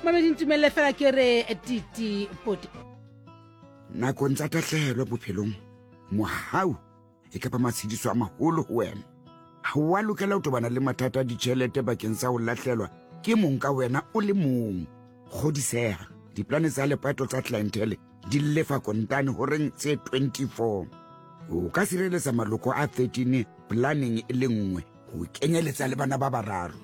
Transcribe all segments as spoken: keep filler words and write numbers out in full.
Mamedi, ntumelle fela ke re titi poti. Nakong tsa tahlehelo bophelong, mohau e kapa matshediso a maholo ho wena. Ha wa lokela ho tobana le mathata a ditjhelete bakeng sa ho lahlelwa ke mong ka wena o le mong. Kgodiseha, diplane tsa lepato tsa Clientele di lefa kontane horeng tse twenty-four. O ka sireletsa maloko a thirteen planeng e le nngwe, ho kenyeletsa le bana ba bararo.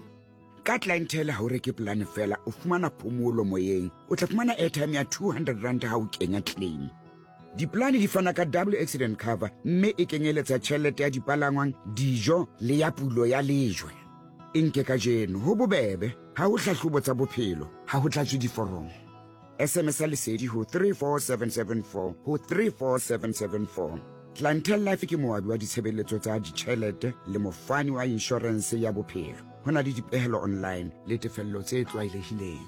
Ka Clientele ha o reke plane fela, o fumana phomolo moyeng. O tla fumana airtime ya two hundred rand ha o kenya claim. Diplane di fana ka double accident cover mme e kenyeletsa tjhelete ya dipalangwang, dijo le ya pulo ya lejwe. E nke kajeno ho bobebe, ha ho hlahlobo tsa bophelo, ha ho tlatswe diforomo. S M S ya lesedi ho three four seven seven four ho three four seven seven four. Clientele Life ke moabi wa ditshebeletso tsa ditjhelete le mofani wa inshorense ya bophelo. Ho na le dipehelo online le tefello tse tlwaelehileng.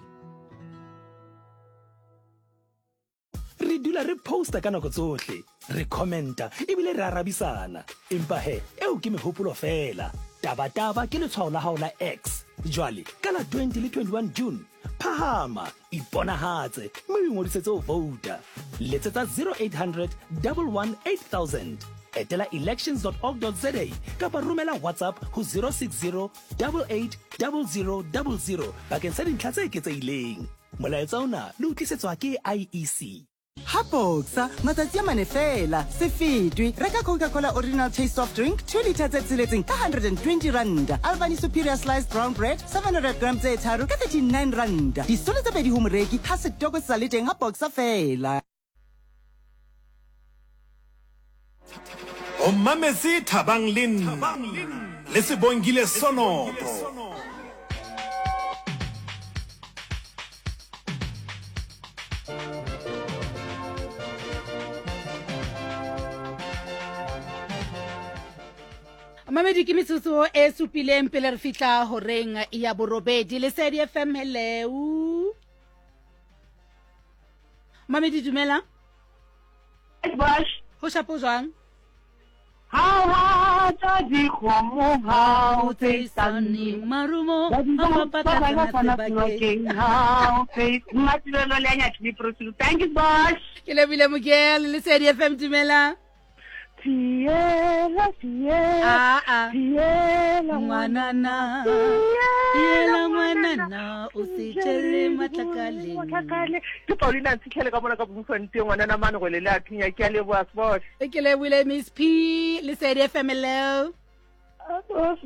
Re dula re posta ka nako tsohle, re commenta ebile re arabisana. Empa he, eo ke mehopolo fela. Taba-taba ke letshwao la hao la X. Jwale, ka la twenty le twenty-one June, phahama, iponahatse, mme o ingodisetse ho vouta. Letsetsa zero eight hundred, double one, eight thousand. Etela elections dot org dot za kapa romela WhatsApp ho zero six zero, double eight, double zero, double zero bakeng sa dintlha tse eketsehileng. Molaetsa ona le o tlisetswa ke I E C. Ha Boxer, matsatsi a mane fela, se fetwe. Reka Coca-Cola Original Taste Soft Drink, two litre tse tsheletseng ka hundred and twenty rand. Albany Superior Sliced Brown Bread, seven hundred grams tse tharo ka thirty-nine rand. Disolo tse pedi ho moreki, ha setoko se sa le teng ha Boxer fela. O mametse Thabang le nna, le Sebongile Sonopo. Mamedi, ke metsotso e supileng pele re fihla horeng ya borobedi. Lesedi F M, hello. Mamedi, dumela. Bosh. Ho shapo jwang? Ha wa tsa dikgomo, ha o tse sanni marumo, Ba di ha ba ba ba ba patla ba sebakeng. Ha o tse Mmatilelo le ya Nyatsi Prosil. Thank you, boss. Ke lebile Mokele, Lesedi F M, dumela. Fiela, fiela, Ah, ah. fiela, Ngwanana. Fiela, Fiela, ngwanana, o se tjele matlakaleng. Matlakale. Ke Paulina Ntshitlhele ka mona ka Bloemfontein, ngwanana mane go le le a thunya. Ke a leboha, Sbosh. Ke lebohile, Miss P. Lesedi F M, hello. Sbosh.